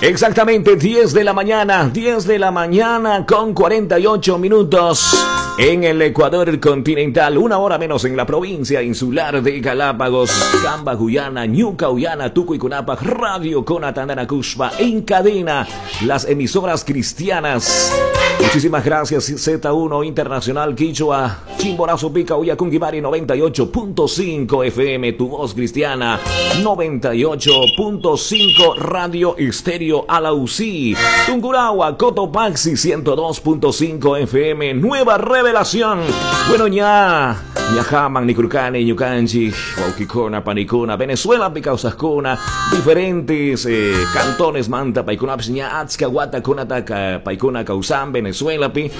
Exactamente 10 de la mañana, 10 de la mañana con 48 minutos en el Ecuador continental, una hora menos en la provincia insular de Galápagos, Camba, Guyana, Ñuca, Guyana, Tucuycunapa, Radio Conatandana, Cushpa, en cadena, las emisoras cristianas. Muchísimas gracias, Z1 Internacional Quichua, Chimborazo Pica, Uyakunguibari 98.5 FM, Tu Voz Cristiana, 98.5 Radio Estéreo Alausí, Tungurahua, Cotopaxi 102.5 FM, Nueva Revelación. Bueno, ya, Ñajaman, Nicurcani, Ñucanchi, Huauquicona, Panicona, Venezuela, Picausascona, diferentes cantones, Manta, Paicuna, Ña, Atzca, Guata, Conataca, Paicuna, Causán, Venezuela, Pi,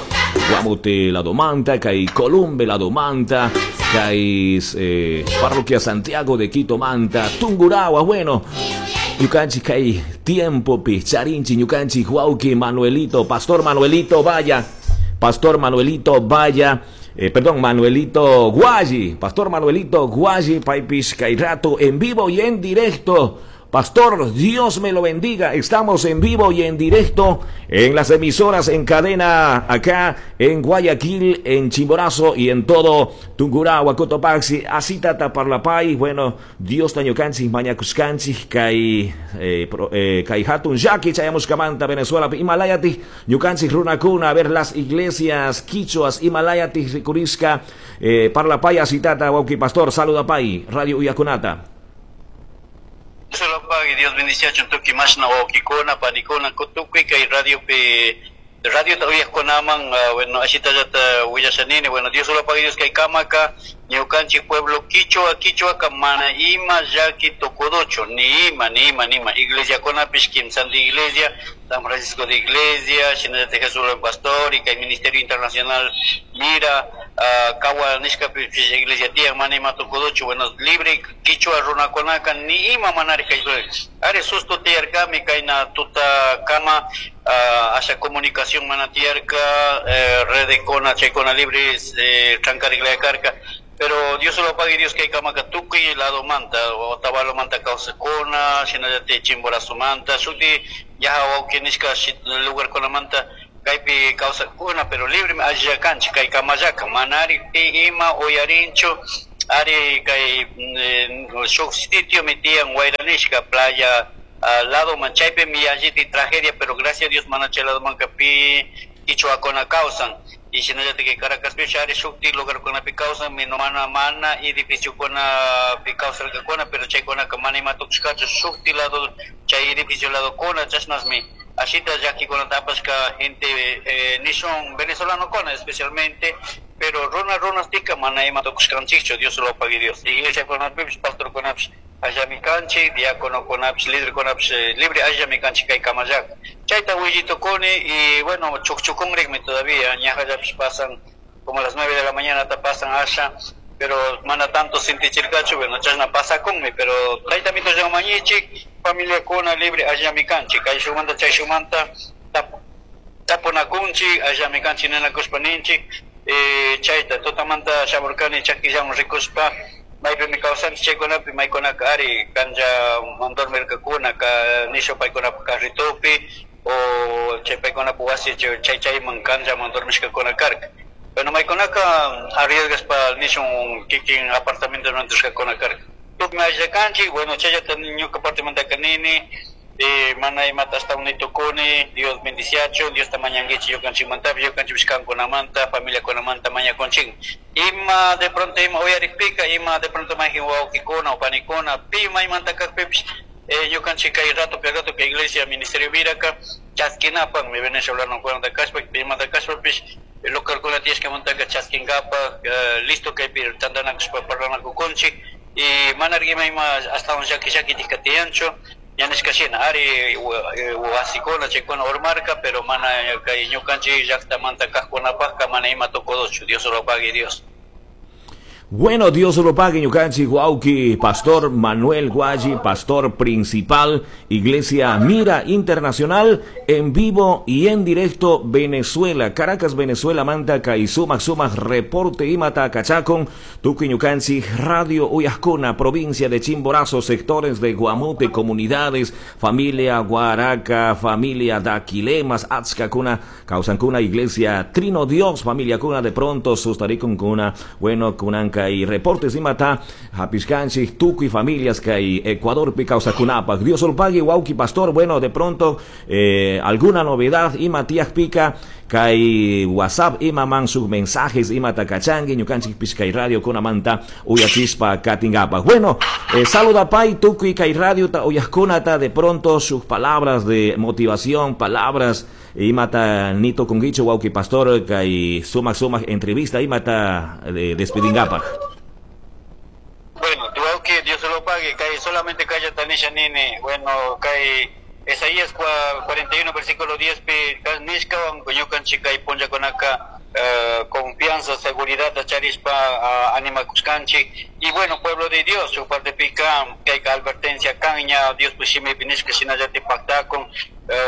Guamute, la Domanta, Cai Columbe, la Domanta, Cai Parroquia Santiago de Quito, Manta, Tungurahua, bueno, Ñucanchi, Cai Tiempo, Pi, Charinchi, Ñucanchi, Huauqui, Manuelito, Pastor Manuelito, vaya, Pastor Manuelito, vaya, perdón, Manuelito Guayi, Pastor Manuelito Guayi, Paipis Cairato, en vivo y en directo. Pastor, Dios me lo bendiga. Estamos en vivo y en directo en las emisoras en cadena acá en Guayaquil, en Chimborazo y en todo Tungurahua, Cotopaxi, Asitata, Parlapay. Bueno, Dios tañucanchi, mañacuscanchi, kai kai hatun yaki, chayamushkamanta, Venezuela, Himalayati, ñucanchi, runacuna, a ver las iglesias quichuas, Himalayati, Ricurisca, Parlapay, Asitata, Wauqui Pastor, saluda pay, Radio Uyacunata. Solo Dios bendice a tuki mashna wawkikuna panikuna tukuy kay radio pi radio ta uyaqkunaman bueno ashitallata willashanini bueno Dios solo pague Dios kay kamaka ñukanchik pueblo quichua quichuaka mana ima llaki tukuduchu ni ima ni ima ni ima iglesiakunapish kimsanti iglesia San Francisco de Iglesia shinallata Jesús el Pastor y kay Ministerio Internacional Mira kawa nishkapish iglesia tiyan mana ima tukuduchu bueno libre quichua runakunaka ni ima manari kay ari susto tiyarkami kayna tuta kama asha comunicación mana tiyarka redekuna chaykuna libre trankariklaya pero Dios lo pague Dios kay kamaka tukuy lado manta Otavalo manta kawsakuna shinallata Chimborazo manta shuti yaja wawqi nishka lugar kunamanta kaypi kawsakuna pero libre allilla kanchik kay kamallaka manari pi ima uyarinchu ari kay shuk sitio mi tiyan wayranishka playa lado man chaypi mi alliti tragedia pero gracias a Dios mana chay lado manka pi quichuakuna kawsan y shinallata kay Caracaspi ari shukti lugarkunapi kawsan mi no mana mana edificiokuna pi kawsarkakuna pero chaykunaka mana ima tukushkachu shukti lado chay edificio ladokuna chashnasmi ashita llakikunata apashka gente nishun venezolano kuna especialmente pero runa runastika mana ima tukushkanchikchu Dios lo pague Dios iglesiakunapipish pastorkunapish allami kanchik diáconokunapish líderkunapish libre allami kanchik kay kamallaka chayta willitukuni y bueno chukchukunrikmi todavía ñajallapish pasan como a las 9 de la mañana ta pasan asha pero mana tanto sintichirkachu bueno chashna pasakunmi pero taytamito llamañichik familiakuna libre allami kanchik kayshumanta chayshumanta tapunakunchik allami kanchik ninakushpa ninchik chayta tutamanta shamurkani chakillawan rikuspa maypimi kawsanchik chaykunapi maykunaka ari kanlla dormirkakuna ka nishu paykunapa carritopi o chay paykunapa wasi chay chayman kanllaman dormishkakuna karka bueno maykunaka arriesgaspa nishun kikin apartamentoman rishkakuna karka tukmi allilla kanchik bueno chayllata ñuka partimantaka nini mana imata ashtawan nitukuni Dios bendiciachun Diosta mañankichik ñukanchikmantapish ñukanchikpish kankunamanta familiakunamanta mañakunchik ima de pronto ima uyarikpika ima de pronto mayjin wawqikuna o panikuna pi maymanta kakpipish ñukanchik kay rato pi rato kay iglesia ministerio viraka chaskinapakmi venezolanokunata kashpa pimanta kashpapish localkuna tiyashkamantaka chaskinkapak listo kaypi tantanakushpa parlanakukunchik y manari ima ima ashtawan llaki llakitikka tiyanchu ñanishka shina ari wasikuna chaykuna urmarka pero mana kay ñukanchik llaktamanta kaqkunapakka mana ima tukuduchu Dios lo pague Dios. Bueno, Dios lo pague, ñukanchik wawki, Pastor Manuel Guayi, pastor principal, Iglesia Mira Internacional, en vivo y en directo, Venezuela, Caracas, Venezuela, manta, kay sumak sumak, reporte imata, kachakun, tukuy ñukanchik, Radio Uyajkuna, provincia de Chimborazo, sectores de Guamote, comunidades, familia Guaraca, familia Daquilemas, Atzcacuna, Causancuna, Iglesia Trino Dios, familia Cuna, de pronto, Sustaricun Cuna, bueno, Cunanca y reportes imata, hapishkanchik, tukuy familias kay Ecuador kawsakunapak. Dios lo pague, wawki pastor, bueno, de pronto alguna novedad ima tiyakpika kay WhatsApp imaman sus mensajes imata kachanki ñukanchikpish kay radio kunamanta uyachispa katinkapak. Bueno, saludapay tukuy kay radio ta uyajkunata, de pronto sus palabras de motivación, palabras imata nito kungicho wawki pastor kay sumak sumak entrevista imata despedingapak. Bueno, que Dios se lo pague, kay solamente kaya tanisha nini, bueno, kay Isaías 41 versículo 10 pi nishkawan ñukanchik kay punllakunaka confianza, seguridad charispa animakushkanchik. Y bueno, pueblo de Dios, su parte pica kay advertencia caña Dios pues shimipi nishka shinallati pactakun.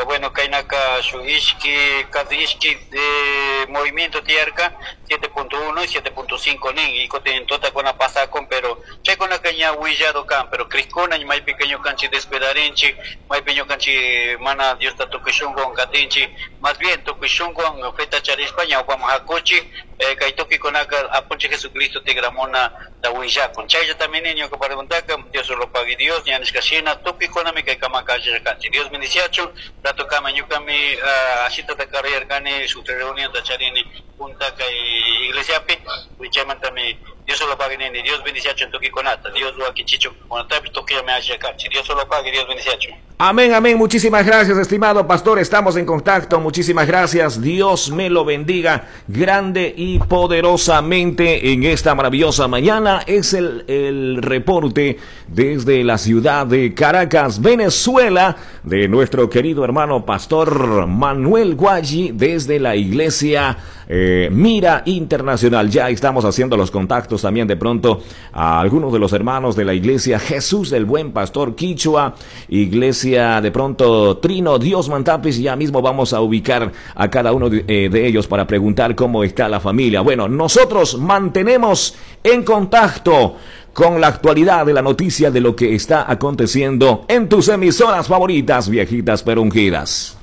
Bueno, kaynaka su ishki, cada ishki de movimiento tierca 7.1 y 7.5 nin y cotin tota con pasakun, pero chaykuna ña willado kan, pero criskuna maypi ñukanchik descuidarinchik, maypi ñukanchik mana Diosta tukuy shunkuwan katinchik, más bien tukuy shunkuwan feta charispa ñawpaman hakuchik, kay tukuy-kunaka apunchik Jesucristo tigramuna ta willakun. Chaylla también ñuka preguntaka, Dios lo pague Dios, ña nishka shina tukuy-kunami kay kamaka allillakanchik. Dios bendiciachun, rato kama ñukami ashita ta karayarkani shuk reunión ta charini punta kay iglesiapi, chaymantami Dios lo pague nini, Dios bendiciachun tukuy-kunata, Dios wakichichun kunatapi tukuyllami allillakanchik. Dios lo pague, Dios bendiciachun. Amén, amén. Muchísimas gracias, estimado pastor. Estamos en contacto. Muchísimas gracias. Dios me lo bendiga grande y poderosamente en esta maravillosa mañana. Es el reporte desde la ciudad de Caracas, Venezuela, de nuestro querido hermano pastor Manuel Guayi, desde la iglesia Mira Internacional. Ya estamos haciendo los contactos también de pronto a algunos de los hermanos de la iglesia Jesús el Buen Pastor Quichua, iglesia de pronto Trino Dios Mantapis. Ya mismo vamos a ubicar a cada uno de ellos para preguntar cómo está la familia. Bueno, nosotros mantenemos en contacto con la actualidad de la noticia de lo que está aconteciendo en tus emisoras favoritas, viejitas pero ungidas.